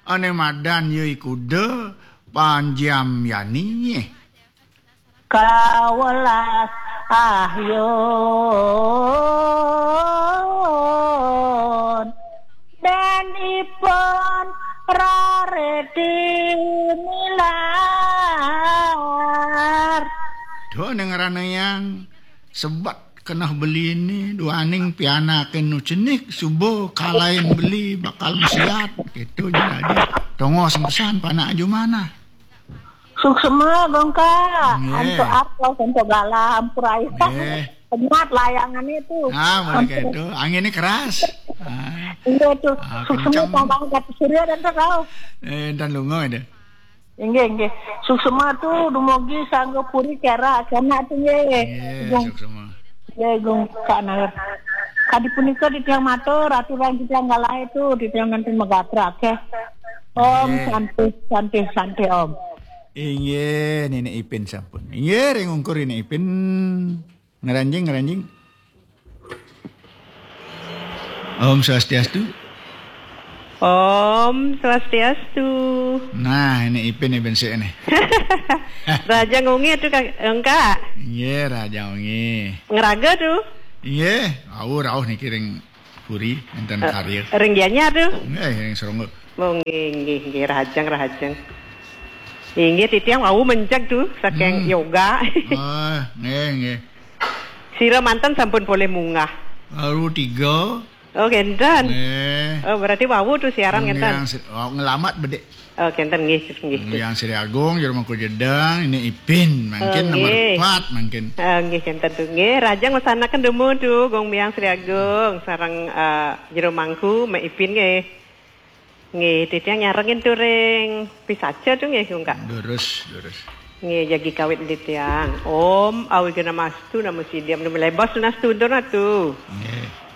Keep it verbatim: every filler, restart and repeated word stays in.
Ane madan ya iku de Panjam Yani. Kawelas ahyun. Dan ipun rareti nilar. Duh, ning ranayang sebat keneh beline duaning pianake nu cenik suba kalain beli bakal mesiat gitu jadi. Tongos pesan panak Jumana. Suksma, Gongka. Nggih. Antuk apa, antuk galah, ampura. Nggih. Penyat layangane tu. Ah, mulai kayak itu. Anginnya keras. Ah. Iya tu. Ah, suksma kenceng. Tambah kat surya dan terau. Eh, dan lunga itu. Inggih, inggih. Suksma tu dumugi sangga puri kera kena tu nggih. Nggih, suksma. Nggih, Gongka Nagar. Kadi punika titiang matur, aturang titiang galah itu, titiang nanti megatra, oke. Om Nggih. Santi, santi, santi, Om. Inggih, Nenek Ipin sampun. Inggih, ring ungkur Nenek Ipin. Ngeranjing, ngeranjing. Om Swastiastu. Om Swastiastu. Nah, ini Ipin, Ipin sik ini. Raja Ngungi tu, Kak, Engkak. Iya, Raja Ngungi. Ngeraga tu. Iya, au rauh niki ring puri, enten Eh, karya. Ring Gianyar tu. Nggih, ring Seronggo. Oh, nggih, nggih, nggih, rahajeng, rahajeng. Inggih, titiang wau menceg tu, saking Hmm. yoga. Oh, nggih, nggih. Sira manten sampun polih munggah. Baru tiga. Oh, kenten. Nggih. Oh, berarti wau tu siaran Nggih, kenten. Yang se-, oh, ngelamat bedik. Oh, kenten, nggih, nggih. Yang Sri Agung, Jero Mangku Jedang, ini Ipin, mangkin Oh, nomor nggih. empat, mangkin. Oh, nggih, kenten tu. Nggih, rahajeng wasanaken demo tu, Gong Biang Sri Agung, sareng, eh, Jero Mangku, Mak Ipin, nggih. Nggih, titiang nyarengin tu ring pisaca tu nggih, Kak. Durus, durus. Nggih, jagi kawit titiang. Om Awighnamastu Namo Siddham Namo Lebos Tunas Tuntur Natu. Nggih.